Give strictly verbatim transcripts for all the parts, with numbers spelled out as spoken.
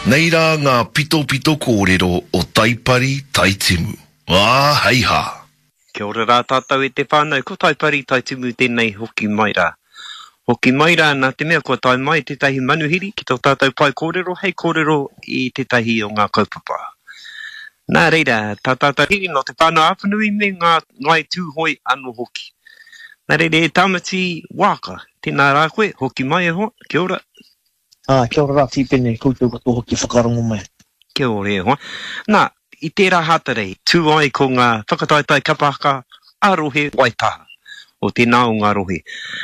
Nei rā ngā pitopito kōrero o Taipari Taitimu. Ā, hei hā! Kia ora rā tātou e te whānau, ko Taipari Taitimu tēnei hoki mai rā. Hoki mai rā nā te mea kua tae mai tētahi manuhiri ki tō tātou pae kōrero hei kōrero i tētahi o ngā kaupapa. Nā reira, tā tātou hiri nō Te Whānau-a-Apanui me ngā Ngāi Tūhoe anō hoki. Nā reira e Tāmati Waaka, tēnā rā koe, hoki mai e hoa, kia ora. Ā, kia ora rā Tīpene, koutou katoa hoki e whakarongo mai. Kia ora e hoa. Nā, i tērā Hātarei, tū ai ko ngā whakataetae kapa haka ā-rohe Waitaha, o tēnā o ngā rohe.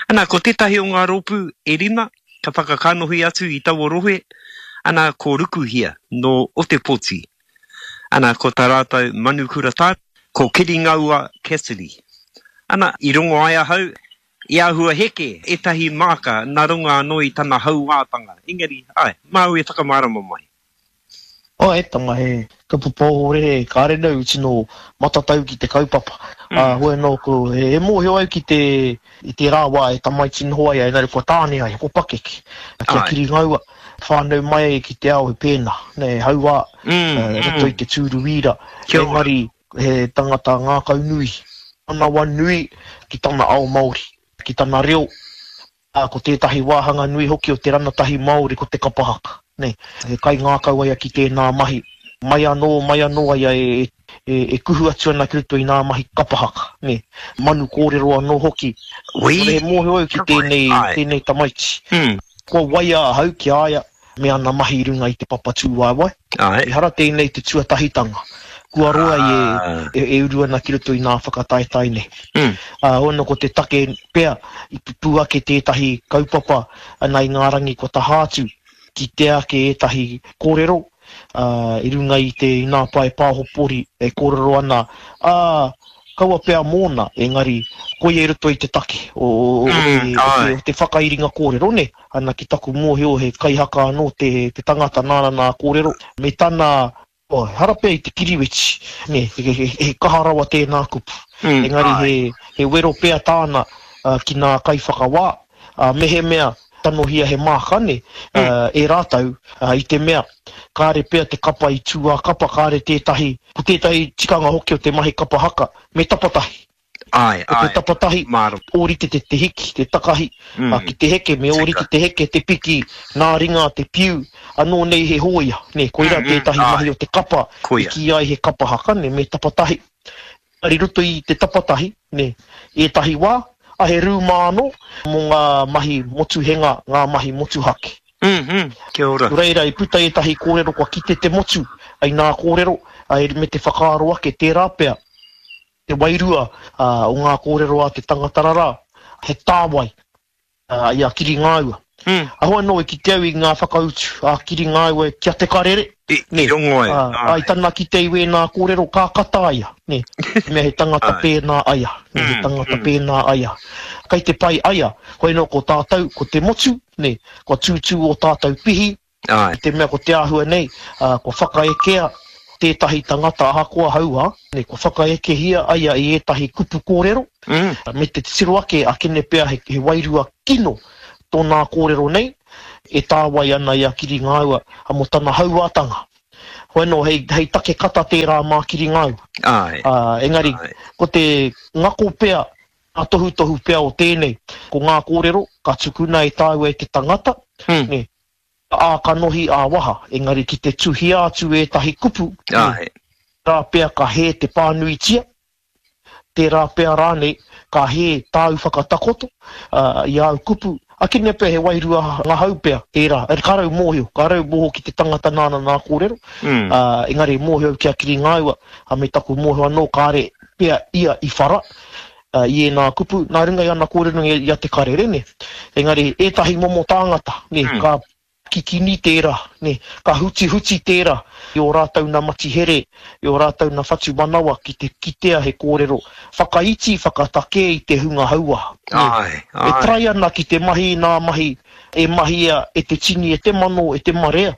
Ana, ko tētahi o ngā rōpū e rima ka whakakanohi atu i taua rohe, ana, ko Rukuhia, nō Otepoti. Ana, ko tā rātou manukura tāne, ko Kiringaua Cassidy. Ana, i rongo ai ahau, i āhua heke ētahi māka nā runga anō i tana hauātanga. Engari, āe, māu e whakamārama mai. Oh, e tama, he kaupapa ohorere, kāre au i tino matatau ki te kaupapa. Mm. Ā, hoi anō, ko, he, he mōhio au ki te, i tērā wā e tamaiti noho ai, engari kua tāne ai, kua pakeke, kia kiri ngaua, whānau mai ai ki te ao he pēnā, nē, hauā, mm, uh, roto mm. i te tūru wīra, engari he tangata ngākau nui, manawa nui ki tana ao Māori, ki tana reo, Ā, ko tētahi wāhanga nui hoki o te ranatahi Māori ko te kapa haka, nē. He kaingākau a ia ki tēnā mahi. Mai anō, mai anō a ia e, e, e kuhu atu ana ki roto i nā mahi kapa haka, nē. Manu kōrero anō hoki. Ui! He mōhio au ki tēnei, tēnei tamaiti. Kua waia ahau ki a ia me ana mahi i runga i te papa tūwaewae. Ehara tēnei te tuatahitanga. Kua roa i e, e uru ana ki roto i nā whakataetae nei. Mm. Ā, ono ko te take pea i pupū ake tētahi kaupapa ana i ngā rangi kua taha atu, kitea ake ētahi kōrero, ā, i runga i te i nā pae pāhopori e kōrero ana, ā, kaua pea mōna, engari koia i roto i te take o, o, o, mm, te, o, te, o te whakairinga kōrero, nē. Ana ki taku mōhio he kaihaka anō te, te tangata nāna nā kōrero, me tana Oh, ehara pea i te kiriweti, nē, he, he, he kaha rawa tēnā kupu. Mm, Engari he, he wero pea tāna uh, ki nā kaiwhakawā, uh, mehemea tanohia he māka, nē, mm. uh, e rātou, uh, i te mea, kāre pea te kapa i tū ā-kapa, kāre tētahi, ko tētahi tikanga hoki o te mahi kapa haka, me tapatahi. Āe, Ko te āe, tapatahi, mārama. ōrite te te hiki, te takahi, Mm. ā, ki te heke, me ōrite Tika. te heke, te piki, nā ringa, te piu, anō nei he hōia, nē, koirā Mm, mm, tētahi mahi āe. o te kapa i Koia. kīia ai he kapa haka, nē, me tapatahi. Engari i roto i te tapatahi, nē, ētahi wā, a he rūma anō mō ngā mahi motuhenga, ngā mahi motuhake. Mm, mm, kia ora. Nō reira, i puta ētahi kōrero kua kite te motu i nā kōrero, ā, me te whakaaro ake tērā pea, Te wairua o ngā kōrero a te tangata rarā, he tāwai i a Kiringāua. Aho anō i kite au i ngā whakautu a Kiringāua ki a Te Karere, nē, I rongo ai, ā, i tana kite i wēnā kōrero ka kata a ia, nē, te mea he tangata pēnā a ia, nē, he tangata pēnā a ia. Kei te pai a ia, hoi anō ko tātou, ko te motu, nē, kua tūtū ō tātou pihi, Āe. I te mea ko te āhua nei, ā, kua whakaekea tētahi tangata ahakoa hauā, nei, kua whakaekehia a ia i ētahi kupu kōrero, Mm. me te titiro ake akene pea he, he wairua kino tōnā kōrero nei, e tāwai ana i a Kiringāua mō tana hauātanga. Hoi anō, hei, hei take kata tērā mā Kiringāua. Āe. Ā, engari, Āe. ko te ngako pea, ngā tohutohu pea o tēnei, ko ngā kōrero ka tukuna e tāua e te tangata, Mm. nē, ā-kanohi, ā-waha, engari ki te tuhia atu ētahi kupu, nē, Āe. tērā pea ka hē te pānuitia, tērā pea rānei ka hē tāu whakatakoto ā, i āu kupu, akene pea he wairua ngahau pea tērā, e, ka rau mōhio, ka rau mōhio ki te tangata nāna nā kōrero, Mm. ā, engari mōhio au ki a Kiringāua, ā, me taku mōhio anō kāre pea ia i whara, ā, i ēnā kupu, nā runga i ana kōrero i a Te Karere, nē. Engari, ētahi momo tāngata, nē, Mm. ka kikini tērā, nē, ka hutihuti tērā i ō rātou nā matihere, i ō rātou nā whatumanawa ki te kitea he kōrero whakaiti, whakatakē i te hunga hauā, nē. Āe, E āe. try ana ki te mahi i nā mahi e mahia e te tini, e te mano, e te marea,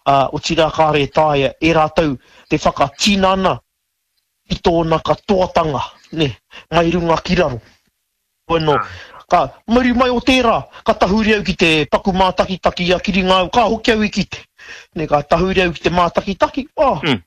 ā, otirā kāre e taea e rātou te whakatinana i tōna katoatanga, nē, mai runga ki raro. Bueno, ka muri mai o tērā, ka tahuri au ki te paku mātakitaki i a Kiringāu, ka hoki au i kite. Nē, ka tahuri au ki te mātakitaki, oh, Mm.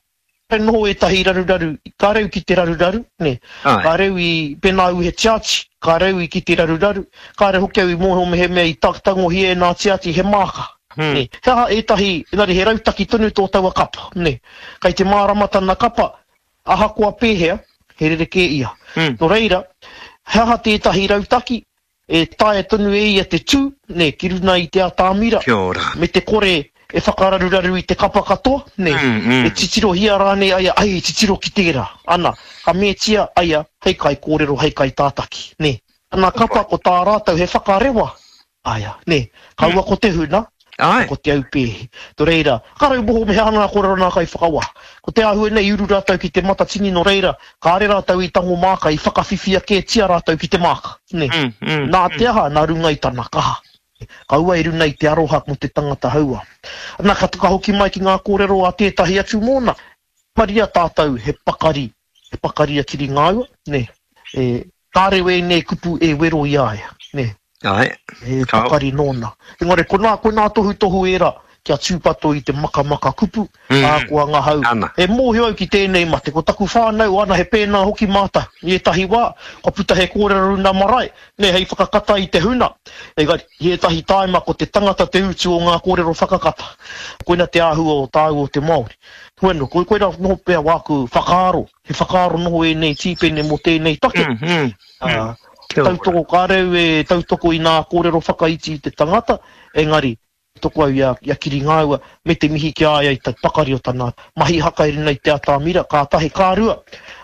He noho ētahi raruraru, ka reu ki te raruraru, nē. Āe. Ka reu i, pēnā au he tiati, ka reu i ki te raruraru, kāre hoki au i mōhio mehemea i tangohia e nā tiati he māka, Hmm. nē. He aha ētahi, engari he rautaki tonu tō taua kapa, nē. Kei te mārama tana kapa, ahakoa pēhea, he rerekē ia. Hmm. Nō reira, he aha tētahi rautaki, e taea tonu e ia te tū, nē, ki runa i te atamira, Kia ora. me te kore e whakararuraru i te kapa katoa, nē, Mm, mm. e titirohia rānei aia, ai, titiro ki tērā, ana, ka metia aia, hei kai kōrero, hei kai tātaki, nē. Ana kapa ko tā rātou he whakarewa, aia, nē, kaua ko te huna, Ai. ko te aupēhi. Tō reira, ka rau moho me he aha ngā kōrero nā kai whakawā. Ko te āhua nei uru rātou ki te matatini nō reira, kāre rātou i tango māka, i whakawhiwhia kētia rātou ki te māka, nē. Mm, mm, Nā te aha, nā runga i tana kaha. Kaua i runa i te aroha mō te tangata haua. Nā, ka ka hoki mai ki ngā kōrero a tētahi atu mōna. Maria tātou he pakari, he pakari a kiri ngāua, nē. E, kāre wēnei kupu e wero i a ia, nē. Ai. He Ka- pakari nōna. Engari, ko nā, ko nā tohutohu ērā, kia tūpato i te makamaka kupu, Mm. ā, ko anga hau. Ana. E mōhio au ki tēnei mate, ko taku whānau, ana he pēnā hoki mātou. I ētahi wā, kua puta he kōrero runa marae, nē, hei whakakata i te huna. Engari, i ētahi tāima ko te tangata te utu o ngā kōrero whakakata. Koina te āhua o tāu o te Māori. Bueno, ko koina noho pea wāku whakaaro, he whakaaro noho ēnei tīpene mō tēnei take. Mm, mm. Ā, Kia ora. tautoko kāreu e tautoko i nā kōrero whakaiti i te tangata, engari, toko au i a, i a Kiri Ngāua, me te mihi ki a ia i te pakari o tana mahi haka i runa i te atamira, ka tahi ka rua,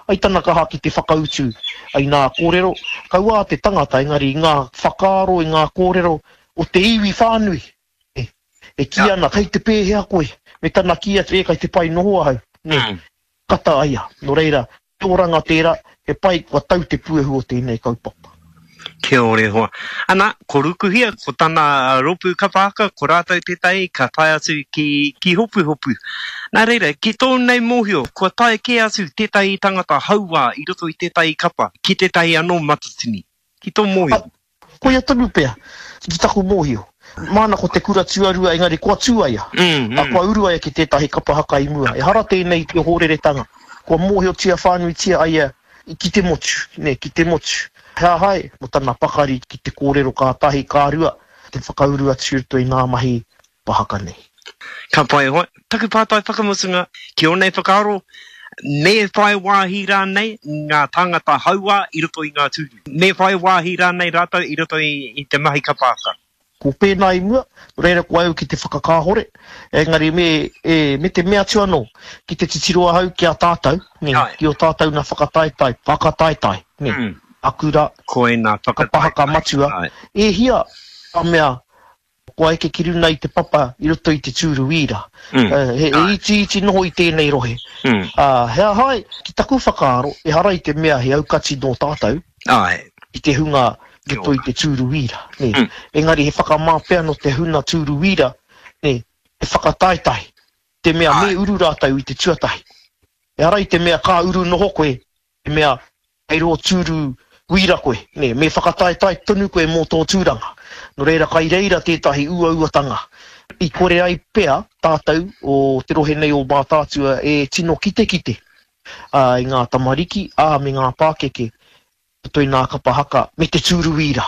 ai tana kaha ki te whakautu ai nā kōrero, kaua te tangata, engari i ngā whakaaro, i ngā kōrero o te iwi whānui. E, e kī ana, kei te pēhea koe, me tana kī atu, e, kei te pai noho ahau. Nē, Mm. kata aia. Nō reira, te oranga tērā, he pai kua tau te puehu o tēnei kaupapa. Kia ora e hoa. Ana, ko Rukuhia, ko tana rōpū kapa haka, ko rātou tētahi, ka tae atu ki, ki Hopuhopu. Nā reira, ki tō nei mōhio, kua tae kē atu tētahi tangata hauā i roto i tētahi kapa, ki tētahi anō matatini. Ki tō mōhio? Ah, koia tonu pea, ki taku mōhio. Māna ko te kura tuarua, engari kua tū aia. Mm, A mm. kua uru aia ki tētahi kapa haka i mua. Ehara tēnei te hōreretanga. Kua mōhiotia whānuitia aia ki te motu, nē, ki te motu. He ahai, mo tana pakari ki te kōrero ka tahi, ka rua, te whakauru atu i roto i ngā mahi pahaka nei. Ka pai hoa. Taku pātai whakamutunga, ki ō nei whakaaro, me whai wāhi rānei ngā tāngata hauā i roto i ngā tūru? Me whai wāhi rānei rātou i roto i, i te mahi kapa haka? Ko pēnā i mua, reira ko au ki te whakakāhore, engari me, e, me te mea atu anō, ki te titiro ahau ki a tātou, nē, Ai. ki o tātou nā whakataetae, whakataetae, nē, Mm. akura, Koina whakataetae. kapa haka matua, Ai. e hia ka mea, kua eke ki runa i te papa i roto i te tūru wīra. Mm. Eh, he, he Ai. iti iti noho i tēnei rohe. Mm. Uh, he ahai, ki taku whakaaro, ehara i te mea he aukati nō tātou, Ai. i te hunga i roto i te tūru wīra. Nē. Mm. Engari he whakamā pea no te huna tūru wīra, nē, he whakataetae, te mea Ai. me uru rātou i te tuatahi. Ehara i te mea ka uru noho koe, te mea hei rō tūru wīra koe, nē, me whakataetae tonu koe mō tō tūranga. Nō reira, kai reira tētahi uauatanga. I kore ai pea tātou o te rohe nei o Mātaatua e tino kitekite, ā, i ngā tamariki, ā, me ngā pākeke, roto i ngā kapa haka, me te tūru wīra.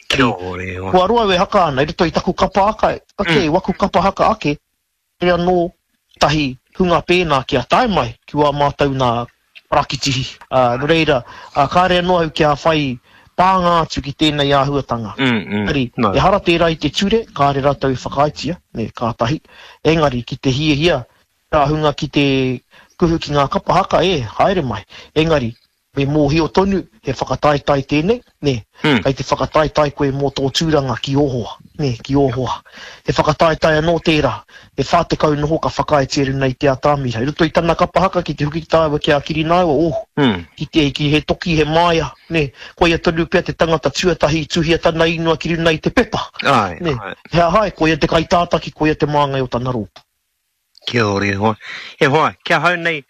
Kia ora e hoa. Kua roa au e haka ana, i roto i taku kapa haka, ake, Mm. waku kapa haka ake, e anō tahi hunga pēnā kia tae mai ki wā mātou nā parakitihi. Ā, nō reira, ā, kāre anō au kia whai pānga atu ki tēnei āhuatanga. Mm, mm. Engari, No. ehara tērā i te ture, kāre rātou i whakaaetia, nē, kātahi. Engari, ki te hiahia, tā hunga ki te kuhu ki ngā kapa haka, e, haere mai. Engari, me mōhio tonu, he whakataetae tēnei, nē, Mm. kei te whakataetae koe mō tō tūranga ki ō hoa, nē, ki ō hoa. He whakataetae anō tērā, he whā tekau noho ka whakaaetia runa i te atamira. I roto i tana kapa haka ki te huki tāua ki a Kirināua, oh, Mm. ki te, ki he toki, he māia, nē, koia tonu pea te tangata tuatahi i tuhia tana ingoa ki runa i te pepa. Ai, Nē, ai. he ahai, koia te kaitātaki, koia te māngai o tana rōpū. Kia ora e hoa. E hoa, kia hau nei,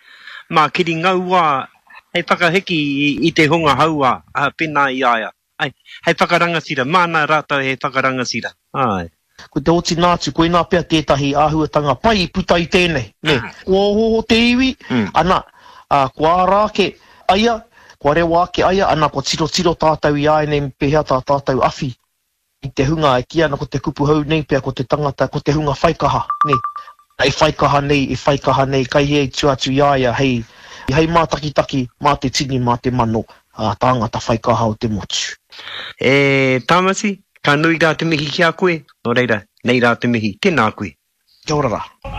mā Kiri Ngaua, hei whakahiki i, i te hunga hauā, ā, pēnā i aia. Ai, hei whakarangatira, māna rātou hei whakarangatira. Ai. Ko te otinga atu, koinā pea tētahi āhuatanga pai i puta i tēnei, nē. Kua ohooho te iwi, ana, ā, kua ara ake a ia, kua rewa ake a ia, ana, kua tirotiro tātou i āianei me pēhea tā tātou awhi i te hunga e kī ana ko te kupu hou nei pea ko te tangata, ko te hunga whaikaha, nē. E whaikaha nei, e whaikaha nei, kai hea i tua atu i a ia hei, hei mātakitaki mā te tini, mā te mano, ā, tāngata whaikaha o te motu. E Tāmati, ka nui rā te mihi ki a koe, nō reira, nei rā te mihi, tēnā koe. Kia ora rā.